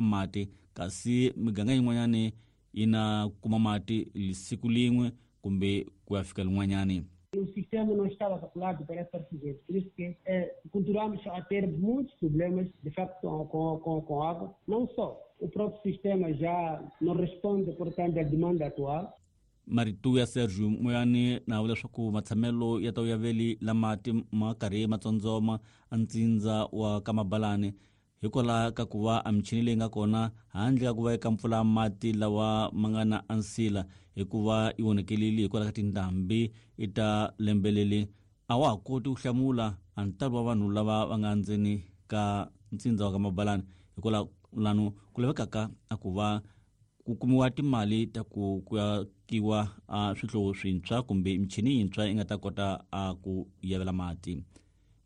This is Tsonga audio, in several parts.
mati kasi miganga yin'wanyani yi na kuma mati siku lin'we kumbe ku ya fika lin'wanyani. O sistema não estava calculado para essa presidente, por isso que continuamos a ter muitos problemas, de facto, com água. Não só, o próprio sistema já não responde, portanto, à demanda atual. Marito ya Sergio Moyani na vula leswaku matshamelo ya ta ya veli la mati ma karhi ma tsondzoma a ntsindza wa ka Mabalani hikwalaho ka ku va a michini leyi nga kona handle ka ku va eka mpfula mati lawa ma nga na ansila hikuva yi onekelile hikwalaho ka tindhambi i ta lembeleli a wa ha koti ku hlamula a ntalo wa vanhu lava va nga ndzeni ka ntsindza wa ka Mabalani hikwalaho lano ku lavekaka a ku va ku kumiwa timali ta ku akiwa a swihlovo swintshwa kumbe michini yintshwa yi nga ta kota a ku yavela mati.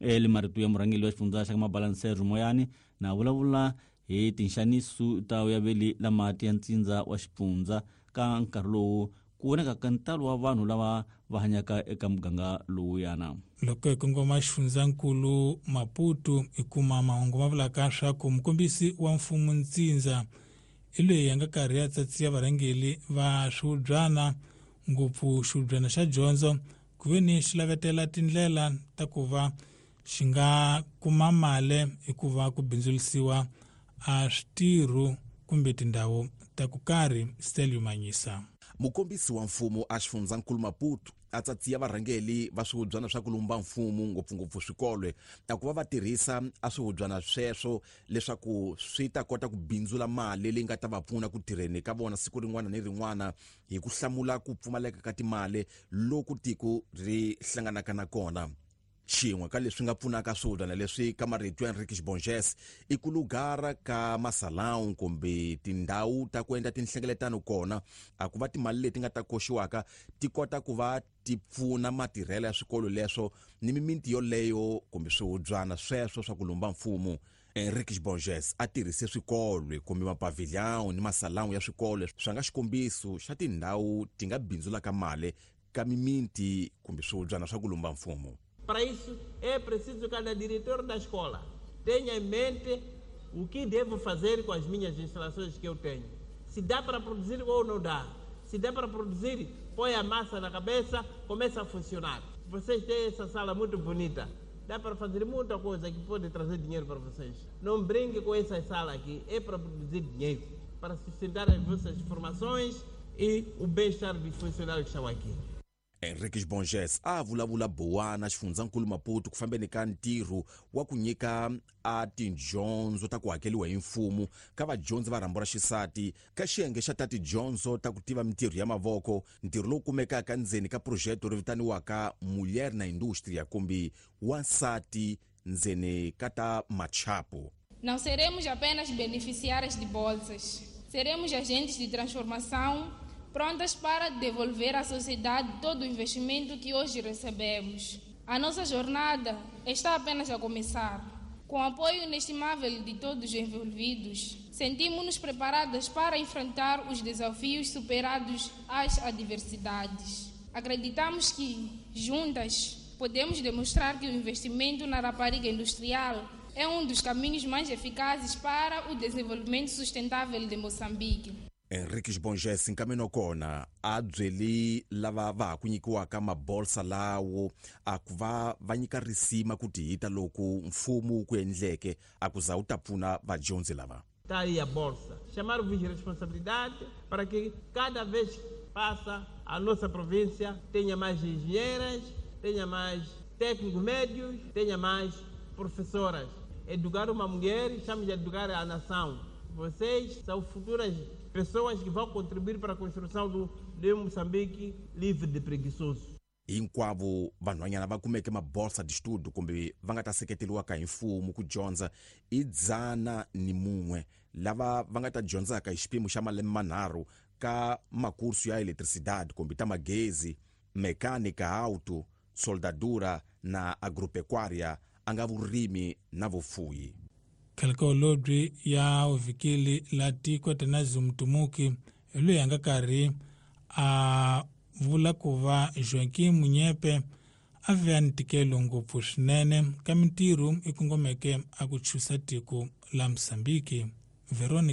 Eli marito ya murhangeri wa xifundza xa ka Mabalani Sergio Moyani na vulavula hi tinxaniso ta yaveli la mati ya ntsindza wa xifundza ka nkarhi lowu ku vonekaka ntalo wa vanhu lava va hanyaka eka muganga lowuyana. Loko hi kongoma xifundzankulu Maputo hi kuma mahungu ma vulaka swa ku mukombisi wa mfumo ntsindza i loyi a nga karhi a tsatsiya varhangeri va swihubyana ngopfu xihubyana xa dyondzo ku ve ni xi lavetela tindlela ta ku va xi nga kuma mali hikuva ku bindzurisiwa a switirho kumbe tindhawu ta ku karhi. Stelio Manyisa. Mukombisi wa mfumo a xifundzankulu Maputo a tsatsiya varhangeri va swihubyana swa ku lumba mfumo ngopfungopfu swikolo a ku va va tirhisa a swihubyana sweswo leswaku swi ta kota ku bindzula mali leyi nga ta va pfuna ku tirheni ka vona siku rin'wana ni rin'wana hi ku hlamula ku pfumaleka ka timali loku tiko ri hlanganaka na kona. Xin'we ka leswi nga pfunaka swihubyana leswi ka marito ya Enrique Bonges i ku lugara ka masalão kumbe tindhawu ta ku endla tinhlengeletano kona a ku va timali leti nga ta koxiwaka ti kota ku va ti pfuna matirhelo ya swikolo leswo ni mimiti yoleyo kumbe swihubyana sweswo swa ku lumba mfumo. Enrique Borges a tirhise swikolo kumbe mapavilhão ni masalão ya swikolo swa nga xikombiso xa tindhawu ti nga bindzulaka mali ka mimiti kumbe swihubyana swa ku lumba mfumo. Para isso é preciso que cada diretor da escola tenha em mente o que devo fazer com as minhas instalações que eu tenho. Se dá para produzir ou não dá. Se dá para produzir, põe a massa na cabeça, começa a funcionar. Vocês têm essa sala muito bonita. Dá para fazer muita coisa que pode trazer dinheiro para vocês. Não brinque com essa sala aqui, é para produzir dinheiro, para sustentar as vossas formações e o bem-estar dos funcionários que estão aqui. Enrique Borges a vulavula Bowana xifundzankulu Maputo ku fambeni ka ntirho wa ku nyika a tidyondzo ta ku hakeriwa hi mfumo ka vadyondzi va rhambu ra xisati ka xiyenge xa ta tidyondzo ta ku tiva mintirho ya mavoko, ntirho lowu kumekaka ndzeni ka projeto ri vitaniwaka Mulher na Indústria kumbe wansati ndzeni ka ta machapo. Não seremos apenas beneficiárias de bolsas, seremos agentes de transformação prontas para devolver à sociedade todo o investimento que hoje recebemos. A nossa jornada está apenas a começar. Com o apoio inestimável de todos os envolvidos, sentimos-nos preparadas para enfrentar os desafios superados às adversidades. Acreditamos que, juntas, podemos demonstrar que o investimento na rapariga industrial é um dos caminhos mais eficazes para o desenvolvimento sustentável de Moçambique. Enrique Borges nkameno kona a byeli lava va ha ku nyikiwaka mabolsa lawo a ku va va nyika risima ku tihita loko mfumo wu ku endleke a ku za wu ta pfuna vadyondzi lava. Tá aí a bolsa. Chamar-vos de responsabilidade para que cada vez que passa a nossa província tenha mais engenheiras, tenha mais técnicos médios, tenha mais professoras. Educar uma mulher, estamos a educar a nação. Vocês são futuras pessoas que vão contribuir para a construção de Moçambique livre de preguiçosos. Hinkwavo vanhwanyana va kumeke mabolsa de estudo kumbe va nga ta seketeriwaka hi mfumo ku dyondza i 101 lava va nga ta dyondzaka hi xipimo xa malembe manharhu ka makursu ya eletricidade kumbe ta magezi, mekanika auto, soldadura na agropecuária a nga vurimi na vufuyi. Khalikaolobyi ya vhikili la tiko Tanazi Mutumuki hi loyi a nga karhi a vula ku va Joaquim Munyepe a ve a ntikelo ngopfu swinene ka mintirho i kongomeke a ku chusa tiko la Mozambique. Veronica.